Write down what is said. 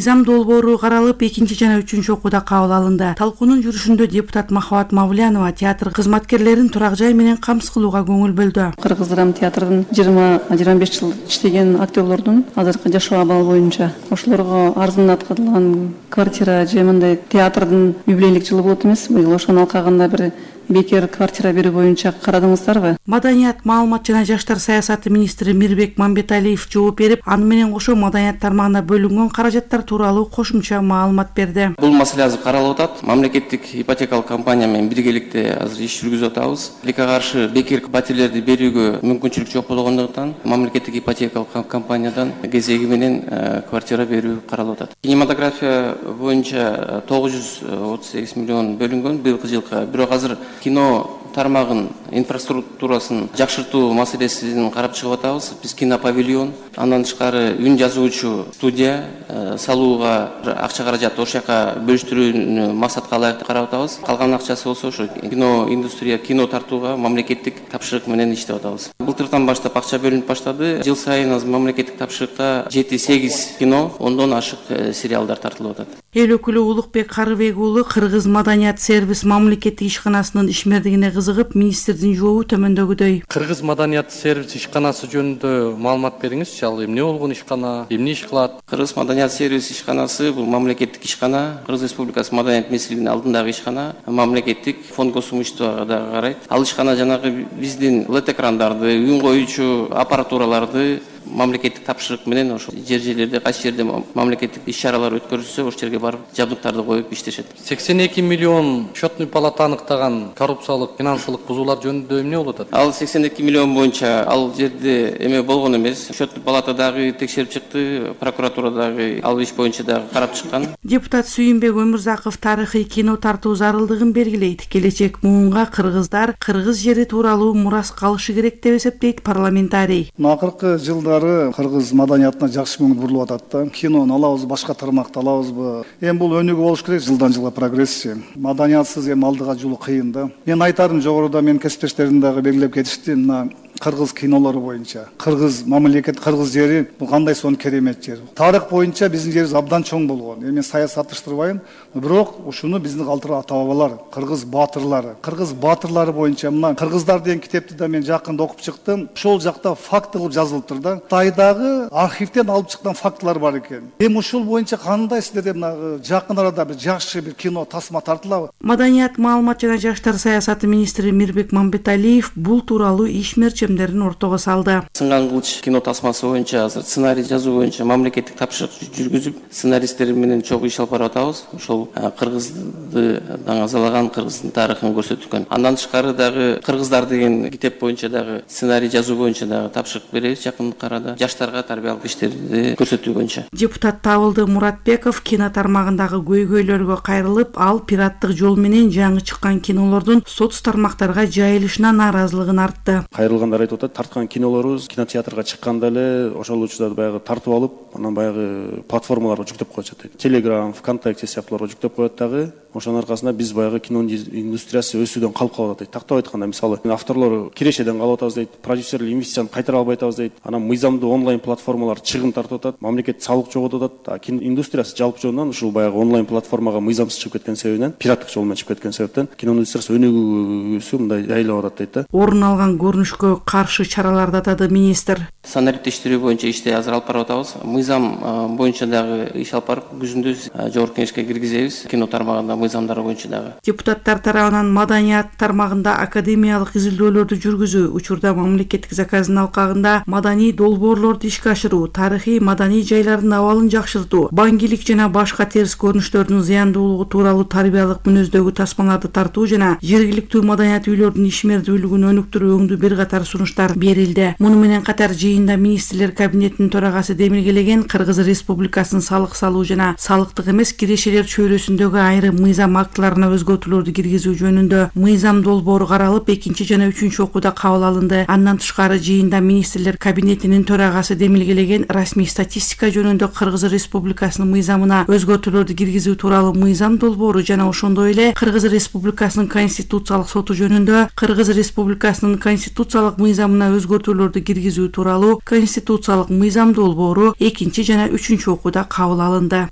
мыйзам долбоору каралып, 2 жана 3 окууда кабыл алынды. Талкуунун жүрүшүндө депутат Махабат Мавлянова театр кызматкерлерин турак жай менен камсыз кылууга көңүл бөлдү. Кыргыз драма театрдын 20-25 жыл иштеген актерлордун азыркы жашоо абалы боюнча ошолорго арзандаткан квартира же мындай театрдын юбилейлик жылы болот эмес, быйыл ошонун алкагында бир бекер квартира берүү боюнча карадыңыздарбы? Маданият, маалымат жана жаштар саясаты министри Мирбек Мамбеталиев жооп берип, аны менен кошо маданият тармагына бөлүнгөн каражаттар тууралуу кошумча маалымат берди. Бул маселе азыр каралып атат. Мамлекеттик ипотекалык компания менен биргеликте азыр иш жүргүзүп атабыз. Тилекке каршы бекер батирлерди берүүгө мүмкүнчүлүк жок болгондуктан мамлекеттик ипотекалык компаниядан кезеги менен квартира берүү каралып атат. Кинематография боюнча 938 миллион бөлүнгөн быйылкы жылга. Бирок азыр кино тармагын инфраструктурасын жакшыртуу маселесин карап чыгып атабыз. Биз кинопавильон, андан тышкары үн жазуучу студия салууга акча каражат ошол жака бөлүштүрүүнү максатка ылайыктуу карап атабыз. Калган акчасы болсо ошо кино индустрия, кино тартууга мамлекеттик тапшырык менен иштеп атабыз. Былтыртан баштап акча бөлүнүп баштады. Жыл сайын азыр мамлекеттик тапшырыкта 7-8 кино, 10дон ашык сериалдар тартылып атат. Эл өкүлү Улукбек Карыбек уулу Кыргыз маданият сервис мамлекеттик ишканасынын ишмердигине кызыгып, министрдин жообу төмөндөгүдөй. Кыргыз маданият сервис ишканасы жөнүндө маалымат бериңизчи. Ал эмне болгон ишкана, эмне иш кылат? Кыргыз маданият сервис ишканасы бул мамлекеттик ишкана, Кыргыз Республикасы маданият министрлигинин алдындагы ишкана, мамлекеттик фонд косумчтууга да карайт. Ал ишкана жанагы биздин LED экрандарды, үн коюучу аппаратураларды мамлекеттик тапшырык менен ошо жерлерде кайсы жерде мамлекеттик иш-чаралар өткөрүлсө ошол жерге барып жабдыктарды коюп иштешет. 82 миллион счетный палата аныктаган коррупциялык, финансылык бузуулар жөнүндө эмне болуп атат? Ал 82 миллион боюнча ал жерде эме болгон эмес. Счетный палата дагы текшерип чыкты, прокуратура дагы ал иш боюнча дагы карап чыккан. Депутат Сүйүнбек Өмүрзаков тарыхый кино тартуу зарылдыгын белгилейт. Келечек муунга кыргыздар кыргыз жери тууралуу мурас калышы керек деп эсептейт парламентарий. Акыркы жылда кыргыз маданиятына жакшы көңүл бурулуп атат да. Кинону алабыз, башка тармакты алабызбы? Эми бул өнүгүү болуш керек, жылдан жылга прогрессия. Маданиятсыз эми алдыга жолу кыйын да. Мен айтарым, жогоруда мен кесиптештерим дагы белгилеп кетишти. Мына кыргыз кинолору боюнча кыргыз мамлекет, кыргыз жери бул кандай сонун керемет жер. Тарых боюнча биздин жерибиз абдан чоң болгон. Эми саясатташтырбайм, бирок ушуну биздин калтырган ата-бабалар, кыргыз баатырлары боюнча мына кыргыздар деген китепти да мен жакында окуп чыктым. Ошол жакта факт кылып жазылыптыр да. Кытайдагы архивден алып чыккан фактылар бар экен. Эми ушул боюнча кандай силерде мына жакын арада бир жакшы бир кино тасма тартылабы? Маданият, маалымат жана жаштар саясаты министри Мирбек Мамбеталиев бул тууралуу ишмерчи ортого салды. Сынган кылыч кино тасмасы боюнча азыр сценарий жазуу боюнча мамлекеттик тапшырык жүргүзүп, сценаристтер менен чогуу иш алып барып атабыз. Ошол кыргызды даңазалаган, кыргыздын тарыхын көрсөткөн. Андан тышкары дагы кыргыздар деген китеп боюнча дагы сценарий жазуу боюнча дагы тапшырык беребиз жакындык арада. Жаштарга тарбиялык иштерди көрсөтүү боюнча. Депутат Табылды Муратбеков кино тармагындагы көйгөйлөргө кайрылып, ал пираттык жол менен жаңы чыккан кинолордун соц тармактарга жайылышына нааразылыгын артты. Айтып атат, тарткан кинолорубуз кинотеатрга чыкканда эле ошол учурда баягы тартып алып, анан баягы платформаларга жүктөп коюшат. Telegram, ВКонтакте сыяктууларга жүктөп коет дагы. Ошонун аркасында биз баягы кино индустриясы өсүүдөн калып калып атат. Тактап айтканда, мисалы, авторлор кирешеден калып атабыз дейт, продюсерлер инвестицияны кайтара албай атабыз дейт. Анан мыйзамдуу онлайн платформалар чыгым тартып атат, мамлекет салык жоготуп атат. Кино индустриясы жалпы жөнүнөн ушул баягы онлайн платформага мыйзамсыз чыгып кеткен себебинен, пираттык жол менен чыгып кеткен себептен кино индустриясы өнүгүүсү мындай жайлап атат дейт да. Орун алган көрүнүшкө каршы чараларды атады министр. Санариптештирүү боюнча ишти азыр алып барып атабыз. Мыйзам боюнча дагы иш алып барып, күзүндө жогорку кеңешке киргизебиз. Кино тармагында мыйзамдар боюнча дагы. Депутаттар тарабынан маданият тармагында академиялык изилдөөлөрдү жүргүзүү, учурда мамлекеттик заказдын алкагында маданий долбоорлорду ишке ашыруу, тарыхый маданий жайлардын абалын жакшыртуу, баңгилик жана башка терс көрүнүштөрдүн зыяндуулугу тууралуу тарбиялык мүнөздөгү тасмаларды тартуу жана жергиликтүү маданият үйлөрдүн ишмердүүлүгүн өнүктүрүү өңдүү бир катар сунуштар берилди. Муну менен катар жыйында министрлер кабинетинин төрагасы демилгелеген Кыргыз Республикасынын салык салуу жана салыктык эмес кирешелер чөйрөсүндөгү айрым мыйзам актыларына өзгөртүүлөрдү киргизүү жөнүндө мыйзам долбоору каралып, 2 жана 3 окууда кабыл алынды. Андан тышкары жыйында министрлер кабинетинин төрагасы демилгелеген расмий статистика жөнүндө Кыргыз Республикасынын мыйзамына өзгөртүүлөрдү киргизүү тууралуу мыйзам долбоору жана ошондой эле Кыргыз Республикасынын конституциялык соту жөнүндө Кыргыз Республикасынын конституциялык мыйзамына өзгөртүүлөрдү киргизүү тууралуу конституциялык мыйзам долбоору 2 жана 3 окууда кабыл алынды.